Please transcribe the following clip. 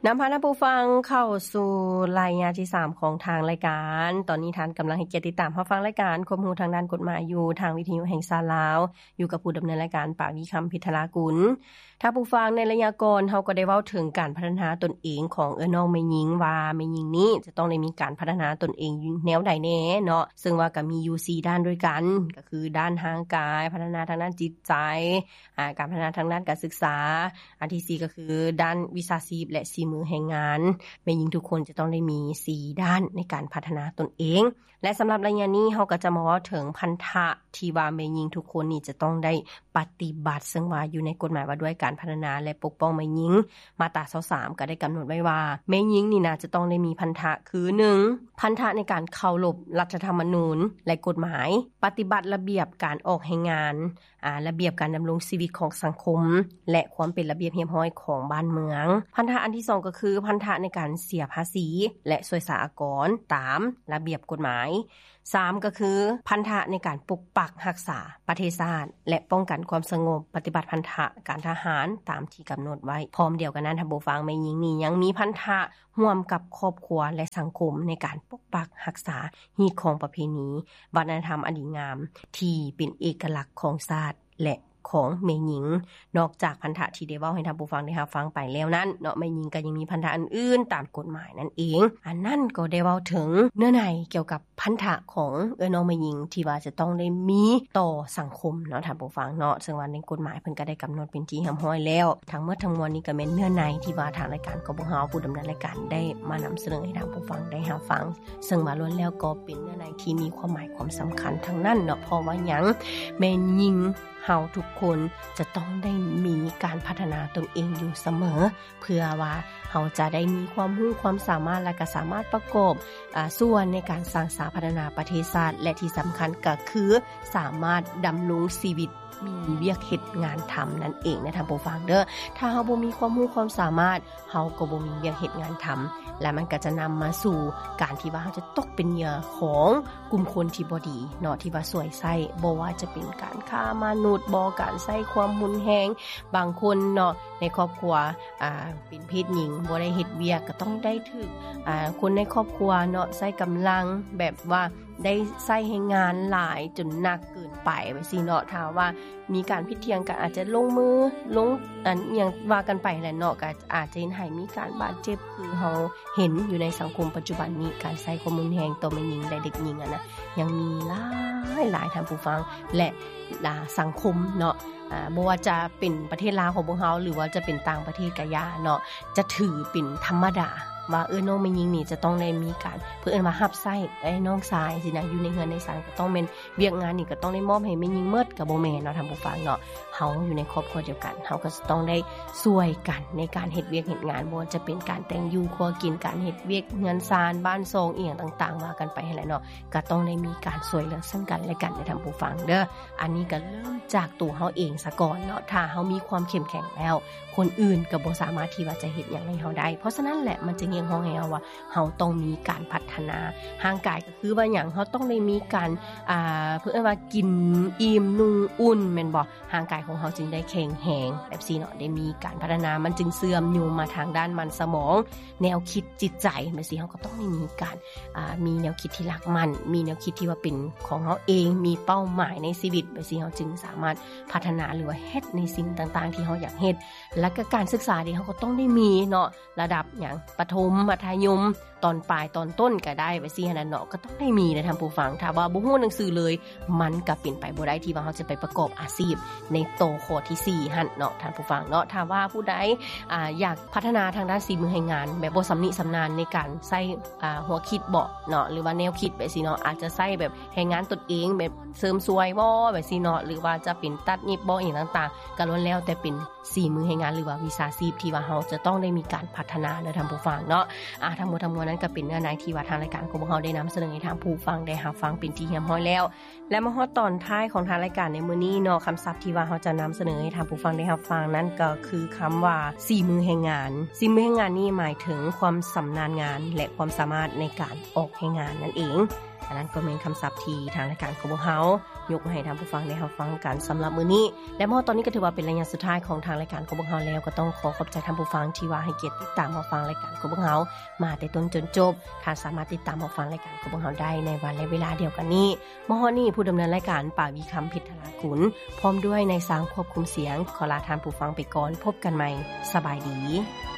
ນຳພາທ່ານຜູ້ຟັງເຂົ້າສູ່ໄລຍະທີສາມຂອງທາງລາຍການ. ຕອນນີ້ທ່ານກຳລັງໃຫ້ກຽດຕິດຕາມຮັບຟັງລາຍການຄວາມຮູ້ທາງດ້ານກົດໝາຍຢູ່ທາງວິທະຍຸແຫ່ງຊາດລາວ, ຢູ່ກັບຜູ້ດຳເນີນລາຍການ ປາວີ ຄຳພິດທະລາກຸນ. ທ່ານຜູ້ຟັງ, ໃນໄລຍະກ່ອນເຮົາກໍໄດ້ເວົ້າເຖິງການພັດທະນາຕົນເອງຂອງເອື້ອຍນ້ອງແມ່ຍິງ ວ່າແມ່ຍິງນີ້ຈະຕ້ອງໄດ້ມີການພັດທະນາຕົນເອງຢູ່ແນວໃດແດ່ເນາະ, ເຊິ່ງວ່າກໍມີຢູ່ສີ່ດ້ານດ້ວຍກັນ, ກໍຄືດ້ານຮ່າງກາຍ, ພັດທະນາທາງດ້ານຈິດໃຈ, ອາ ການພັດທະນາທາງດ້ານການສຶກສາ, ອັນທີສີ່ກໍຄືດ້ານວິຊາຊີບ ແລະ ສີມືແຮງງານ. ແມ່ຍິງທຸກຄົນຈະຕ້ອງໄດ້ມີສີ່ດ້ານໃນການພັດທະນາຕົນເອງ. ແລະ ສຳລັບໄລຍະນີ້ເຮົາກໍຈະມາເວົ້າເຖິງພັນທະທີ່ວ່າແມ່ຍິງທຸກຄົນນີ້ຈະຕ້ອງໄດ້ປະຕິບັດ, ເຊິ່ງວ່າຢູ່ໃນກົດໝາຍວ່າດ້ວຍການພັດທະນາ ແລະ ປົກປ້ອງແມ່ຍິງ ມາດຕາຊາວສາມ ກໍໄດ້ກຳນົດໄວ້ວ່າ ແມ່ຍິງນີ້ນະຈະຕ້ອງໄດ້ມີພັນທະ ຄື ໜຶ່ງ ພັນທະໃນການເຄົາລົບລັດຖະທຳມະນູນ ແລະ ກົດໝາຍ, ປະຕິບັດລະບຽບການອອກແຮງງານ, ອາ ລະບຽບການດຳລົງຊີວິດຂອງສັງຄົມ ແລະ ຄວາມເປັນລະບຽບຮຽບຮ້ອຍຂອງບ້ານເມືອງ. ພັນທະອັນທີສອງກໍຄືພັນທະໃນການເສຍພາສີ ແລະ ສວຍສາອາກອນຕາມລະບຽບກົດໝາຍ. ສາມ ກໍຄືພັນທະໃນການປົກປັກຮັກສາປະເທດຊາດ ແລະ ປ້ອງກັນຄວາມສະຫງົບ, ປະຕິບັດພັນທະການທະຫານຕາມທີ່ກຳນົດໄວ້. ພ້ອມດຽວກັນນັ້ນ, ທ່ານຜູ້ຟັງ, ແມ່ຍິງນີ້ຍັງມີພັນທະຮ່ວມກັບຄອບຄົວ ແລະ ສັງຄົມໃນການປົກປັກຮັກສາຮີດຄອງປະເພນີ ວັດທະນະທຳອັນດີງາມທີ່ເປັນເອກະລັກຂອງຊາດ ແລະ ຂອງແມ່ຍິງ. ນອກຈາກພັນທະທີ່ໄດ້ເວົ້າໃຫ້ທ່ານຜູ້ຟັງໄດ້ຮັບຟັງໄປແລ້ວນັ້ນເນາະ, ແມ່ຍິງກໍຍັງມີພັນທະອື່ນໆຕາມກົດໝາຍນັ້ນເອງ. ອັນນັ້ນກໍໄດ້ເວົ້າເຖິງເນື້ອໃນກ່ຽວກັບພັນທະຂອງເອື້ອຍນ້ອງແມ່ຍິງທີ່ວ່າຈະຕ້ອງໄດ້ມີຕໍ່ສັງຄົມເນາະ ທ່ານຜູ້ຟັງເນາະ, ເຊິ່ງວ່າໃນກົດໝາຍເພິ່ນກໍໄດ້ກຳນົດເປັນທີ່ຮຽບຮ້ອຍແລ້ວ. ທັງໝົດທັງມວນນີ້ກໍແມ່ນເນື້ອໃນທີ່ວ່າທາງລາຍການ ກບຫ ຜູ້ດຳເນີນລາຍການໄດ້ມານຳສະເໜີໃຫ້ທ່ານຜູ້ຟັງໄດ້ຮັບຟັງ, ເຊິ່ງວ່າລ້ວນແລ້ວກໍເປັນເນື້ອໃນທີ່ມີຄວາມໝາຍຄວາມສຳຄັນທັງນັ້ນເນາະ. ເພາະວ່າຫຍັງ? ແມ່ຍິງ ເຮົາທຸກຄົນຈະຕ້ອງໄດ້ມີການພັດທະນາຕົນເອງຢູ່ສະເໝີ ເພື່ອວ່າເຮົາຈະໄດ້ມີຄວາມຮູ້ຄວາມສາມາດ ແລະ ກໍສາມາດປະກອບ ອາ ສ່ວນໃນການສ້າງສາພັດທະນາປະເທດຊາດ ແລະ ທີ່ສຳຄັນກໍຄືສາມາດດຳລົງຊີວິດ ມີວຽກເຮັດງານທຳນັ້ນເອງນະ ທ່ານຜູ້ຟັງເດີ. ຖ້າເຮົາບໍ່ມີຄວາມຮູ້ຄວາມສາມາດ ເຮົາກໍບໍ່ມີວຽກເຮັດງານທຳ ແລະ ມັນກໍຈະນຳມາສູ່ການທີ່ວ່າເຮົາຈະຕົກເປັນເຫຍື່ອຂອງກຸ່ມຄົນທີ່ບໍ່ດີເນາະ ທີ່ວ່າສວຍໃຊ້, ບໍ່ວ່າຈະເປັນການຄ້າມະນຸດບໍ, ການໃຊ້ຄວາມຮຸນແຮງ. ບາງຄົນເນາະ ໃນຄອບຄົວ ອາ ເປັນເພດຍິງ ບໍ່ໄດ້ເຮັດວຽກ ກໍຕ້ອງໄດ້ຖືກ ອາ ຄົນໃນຄອບຄົວເນາະ ໃຊ້ກຳລັງ ແບບວ່າ ໄດ້ໃຊ້ແຮງງານຫຼາຍຈົນໜັກເກີນໄປ ແບບຊີ້ເນາະ. ຖ້າວ່າມີການຜິດຖຽງກັນ ອາດຈະລົງມື ລົງ ອັນ ອີ່ຫຍັງວ່າກັນໄປແຫຼະເນາະ, ກໍອາດຈະເຮັດໃຫ້ມີການບາດເຈັບ ຄືເຮົາເຫັນຢູ່ໃນສັງຄົມປັດຈຸບັນນີ້, ການໃຊ້ຄວາມຮຸນແຮງຕໍ່ແມ່ຍິງ ແລະ ເດັກຍິງ ອັນນະ ຍັງມີຫຼາຍໆ ທ່ານຜູ້ຟັງ ແລະ ອາ ສັງຄົມເນາະ. ອາ ບໍ່ວ່າຈະເປັນປະເທດລາວຂອງພວກເຮົາ ຫຼືວ່າຈະເປັນຕ່າງປະເທດກະຢ່າເນາະ, ຈະຖືເປັນທຳມະດາວ່າ ເອີ ນ້ອງແມ່ຍິງນີ້ຈະຕ້ອງໄດ້ມີການ ເພິ່ນເອີ້ນວ່າຮັບໃຊ້ ເອີ ນ້ອງຊາຍຊີ້ນະ, ຢູ່ໃນເຮືອນໃນຊານກໍຕ້ອງແມ່ນ ວຽກງານນີ້ກໍຕ້ອງໄດ້ມອບໃຫ້ແມ່ຍິງໝົດ ກໍບໍ່ແມ່ນເນາະ ທ່ານຜູ້ຟັງເນາະ. ເຮົາຢູ່ໃນຄອບຄົວດຽວກັນ ເຮົາກໍຈະຕ້ອງໄດ້ຊ່ວຍກັນໃນການເຮັດວຽກເຮັດງານ, ບໍ່ວ່າຈະເປັນການແຕ່ງຢູ່ຄົວກິນ, ການເຮັດວຽກເຮືອນຊານ ບ້ານຊ່ອງ ອີ່ຫຍັງຕ່າງໆ ວ່າກັນໄປຫັ້ນແຫຼະເນາະ, ກໍຕ້ອງໄດ້ມີການຊ່ວຍເຫຼືອເຊິ່ງກັນແລະກັນເດີ ທ່ານຜູ້ຟັງເດີ. ອັນນີ້ກໍເລີ່ມຈາກຕົວເຮົາເອງສາກ່ອນເນາະ, ຖ້າເຮົາມີຄວາມເຂັ້ມແຂງແລ້ວ ຄົນອື່ນກໍບໍ່ສາມາດທີ່ວ່າຈະເຮັດຫຍັງໃຫ້ເຮົາໄດ້. ເພາະສະນັ້ນແຫຼະ ມັນຈຶ່ງຮຽກຮ້ອງໃຫ້ເຮົາວ່າ ເຮົາຕ້ອງມີການພັດທະນາຮ່າງກາຍ, ກໍຄືວ່າຫຍັງ? ເຮົາຕ້ອງໄດ້ມີການ ອ່າ ເພິ່ນເອີ້ນວ່າກິນອີ່ມນຸ່ງອຸ່ນ ແມ່ນບໍ່? ຮ່າງກາຍຂອງເຮົາຈຶ່ງໄດ້ແຂງແຮງ ແບບຊີ້ເນາະ, ໄດ້ມີການພັດທະນາ, ມັນຈຶ່ງເຊື່ອມໂຍງມາທາງດ້ານມັນສະໝອງ, ແນວຄິດ, ຈິດໃຈ ແບບຊີ້. ເຮົາກໍຕ້ອງໄດ້ມີການ ອ່າ ມີແນວຄິດທີ່ຫຼັກໝັ້ນ, ມີແນວຄິດທີ່ວ່າເປັນຂອງເຮົາເອງ, ມີເປົ້າໝາຍໃນຊີວິດ ແບບຊີ້ ເຮົາຈຶ່ງສາມາດພັດທະນາ ຫຼືວ່າເຮັດໃນສິ່ງຕ່າງໆທີ່ເຮົາຢາກເຮັດ. ແລ້ວກໍການສຶກສາເດ ເຮົາກໍຕ້ອງໄດ້ມີເນາະ, ລະດັບຫຍັງ ປະຖົມ ມັດທະຍົມ ຕອນປາຍ ຕອນຕົ້ນກໍໄດ້ ແບບຊີ້ຫັ້ນນະເນາະ, ກໍຕ້ອງໄດ້ມີເດ້ທ່ານຜູ້ຟັງ. ຖ້າວ່າບໍ່ຮູ້ໜັງສືເລີຍ ມັນກໍເປັນໄປບໍ່ໄດ້ທີ່ວ່າເຮົາຈະໄປປະກອບອາຊີບໃນໂຕຂໍ້ທີສີ່ຫັ້ນເນາະ ທ່ານຜູ້ຟັງເນາະ. ຖ້າວ່າຜູ້ໃດ ອ່າ ຢາກພັດທະນາທາງດ້ານສີມືແຮງງານ ແບບບໍ່ຊຳນິຊຳນານໃນການໃຊ້ ອ່າ ຫົວຄິດເບາະເນາະ ຫຼືວ່າແນວຄິດແບບຊີ້ເນາະ, ອາດຈະໃຊ້ແບບແຮງງານຕົນເອງ ແບບເສີມສວຍບໍ ແບບຊີ້ເນາະ, ຫຼືວ່າຈະເປັນຕັດຫຍິບບໍ ອີ່ຫຍັງຕ່າງໆ ກໍລ້ວນແລ້ວແຕ່ເປັນສີມືແຮງງານ ຫຼືວ່າວິຊາຊີບທີ່ວ່າເຮົາຈະຕ້ອງໄດ້ມີການພັດທະນາເດີທ່ານຜູ້ຟັງເນາະ. ອ່າ ທັງໝົດທັງມວນນັ້ນກໍເປັນເນື້ອໃນທີ່ວ່າທາງລາຍການຂອງພວກເຮົາໄດ້ນຳສະເໜີໃຫ້ທ່ານຜູ້ຟັງໄດ້ຮັບຟັງເປັນທີ່ຮຽບຮ້ອຍແລ້ວ. ແລະ ມາຮອດຕອນທ້າຍຂອງທາງລາຍການໃນມື້ນີ້ເນາະ, ຄຳສັບທີ່ວ່າເຮົາຈະນຳສະເໜີໃຫ້ທ່ານຜູ້ຟັງໄດ້ຮັບຟັງນັ້ນກໍຄືຄຳວ່າສີມືແຮງງານ. ສີມືແຮງງານນີ້ໝາຍເຖິງຄວາມຊຳນານງານ ແລະ ຄວາມສາມາດໃນການອອກແຮງງານນັ້ນເອງ. ອັນນັ້ນກໍແມ່ນຄຳສັບທີ່ທາງລາຍການຂອງພວກເຮົາຍົກມາໃຫ້ທ່ານຜູ້ຟັງໄດ້ຮັບຟັງກັນສຳລັບມື້ນີ້ ແລະ ມາຮອດຕອນນີ້ກໍຖືວ່າເປັນໄລຍະສຸດທ້າຍຂອງທາງລາຍການຂອງພວກເຮົາແລ້ວ ກໍຕ້ອງຂໍຂອບໃຈທ່ານຜູ້ຟັງທີ່ວ່າໃຫ້ກຽດຕິດຕາມຮັບຟັງລາຍການຂອງພວກເຮົາມາແຕ່ຕົ້ນຈົນຈົບ. ທ່ານສາມາດຕິດຕາມຮັບຟັງລາຍການຂອງພວກເຮົາໄດ້ໃນວັນ ແລະ ເວລາດຽວກັນນີ້. ມາຮອດນີ້ ຜູ້ດຳເນີນລາຍການ ປາວີຄຳ ເພັດທະລາກຸນ ພ້ອມດ້ວຍນາຍຊາງຄວບຄຸມສຽງ ຂໍລາທ່ານຜູ້ຟັງໄປກ່ອນ. ພົບກັນໃໝ່. ສະບາຍດີ.